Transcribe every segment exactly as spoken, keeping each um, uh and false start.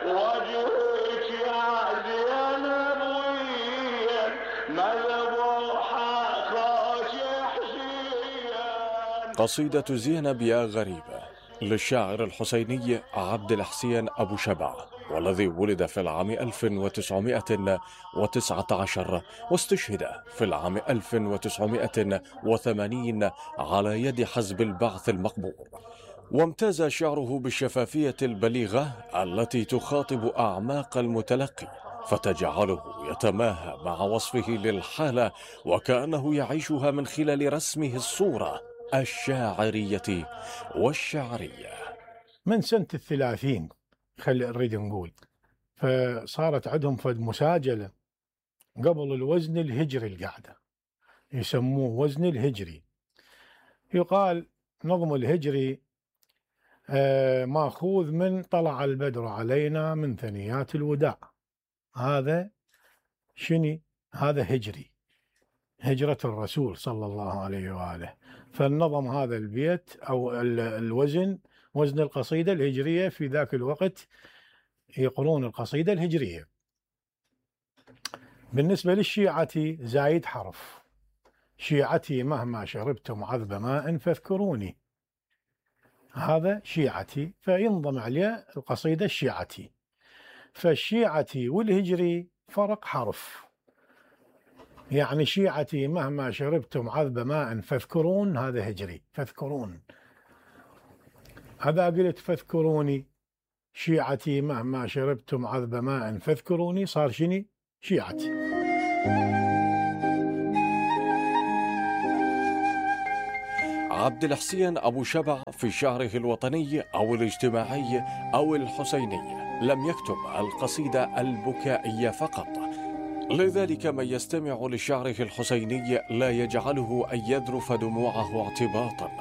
وجهك يا زينب وين مذبوحة خوش حسين. قصيدة زينب يا غريبة للشاعر الحسيني عبد الحسين أبو شبع، والذي ولد في العام ألف وتسعمائة وتسعة عشر واستشهد في العام ألف وتسعمائة وثمانين على يد حزب البعث المقبور. وامتاز شعره بالشفافية البليغة التي تخاطب أعماق المتلقي، فتجعله يتماهى مع وصفه للحالة وكأنه يعيشها من خلال رسمه الصورة الشاعرية والشعرية. من سنة الثلاثين خلي نريد نقول، فصارت عندهم فد مساجلة قبل الوزن الهجري القاعدة يسموه وزن الهجري. يقال نظم الهجري آه ماخوذ من طلع البدر علينا من ثنيات الوداع. هذا شني؟ هذا هجري، هجرة الرسول صلى الله عليه وآله. فالنظم هذا البيت أو الوزن وزن القصيدة الهجرية، في ذاك الوقت يقرون القصيدة الهجرية. بالنسبة للشيعة زايد حرف، شيعتي مهما شربتم عذب ماء فاذكروني، هذا شيعتي فينضم عليه القصيدة الشيعتي. فالشيعتي والهجري فرق حرف، يعني شيعتي مهما شربتم عذب ماء فاذكرون هذا هجري فاذكرون. هذا قلت فاذكروني شيعتي مهما شربتم عذب ماء فاذكروني صار شني؟ شيعتي. عبد الحسين أبو شبع في شعره الوطني أو الاجتماعي أو الحسيني لم يكتب القصيدة البكائية فقط، لذلك من يستمع لشعره الحسيني لا يجعله أن يذرف دموعه اعتباطا،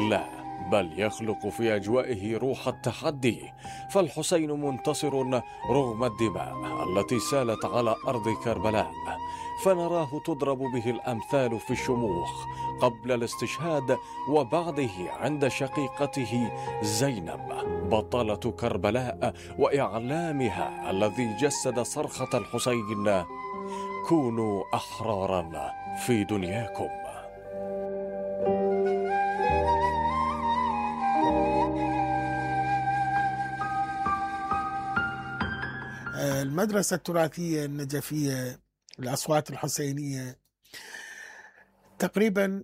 لا، بل يخلق في أجوائه روح التحدي. فالحسين منتصر رغم الدماء التي سالت على أرض كربلاء، فنراه تضرب به الأمثال في الشموخ قبل الاستشهاد وبعده عند شقيقته زينب بطلة كربلاء وإعلامها الذي جسد صرخة الحسين: كونوا أحرارا في دنياكم. المدرسة التراثية النجفية الأصوات الحسينية تقريبا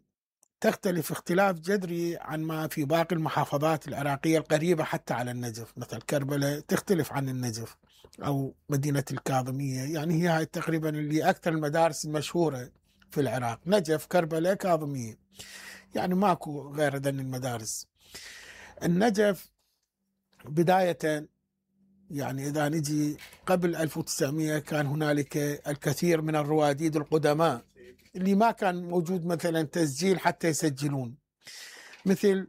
تختلف اختلاف جذري عن ما في باقي المحافظات العراقية القريبة حتى على النجف، مثل كربلاء تختلف عن النجف أو مدينة الكاظمية، يعني هي هاي تقريبا اللي أكثر المدارس المشهورة في العراق، نجف كربلاء كاظمية، يعني ماكو غير ذن المدارس. النجف بداية يعني إذا نجي قبل ألف وتسعمائة كان هنالك الكثير من الرواديد القدماء اللي ما كان موجود مثلا تسجيل حتى يسجلون، مثل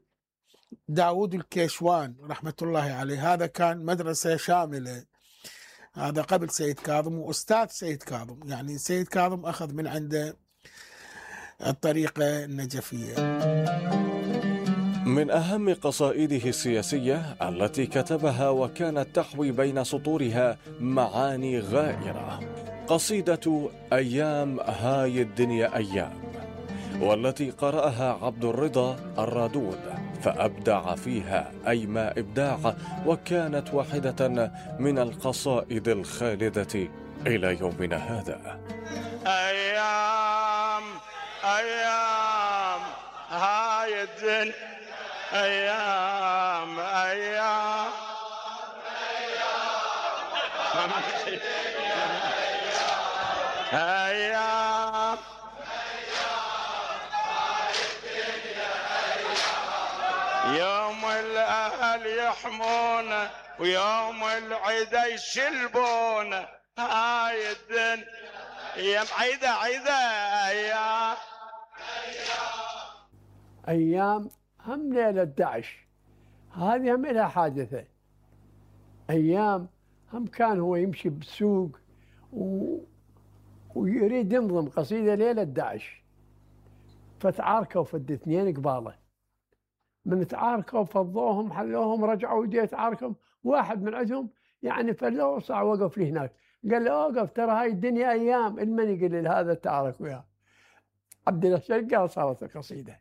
داود الكيشوان رحمة الله عليه، هذا كان مدرسة شاملة، هذا قبل سيد كاظم وأستاذ سيد كاظم، يعني سيد كاظم أخذ من عنده الطريقة النجفية. من أهم قصائده السياسية التي كتبها وكانت تحوي بين سطورها معاني غائرة قصيدة أيام هاي الدنيا أيام، والتي قرأها عبد الرضا الرادود فأبدع فيها أيما إبداع، وكانت واحدة من القصائد الخالدة إلى يومنا هذا. أيام أيام هاي الدنيا أيام أيام أيام يوم الأهل يحمونا ويوم العيدة يشلبونا، هاي الدنيا أيام عيدة عيدة أيام أيام هم ليلة داعش، هذه هم لها حادثة. أيام هم كان هو يمشي بالسوق و... ويريد ينظم قصيدة ليلة داعش، فتعاركوا فد اثنين قباله، من تعاركوا فضوهم حلوهم رجعوا ودي يتعاركوا، واحد من عندهم يعني فلو صع وقف لي هناك قال له اوقف ترى هاي الدنيا ايام. المن يقول لي هذا تعارك وياه. عبد الله شقال صارت القصيده.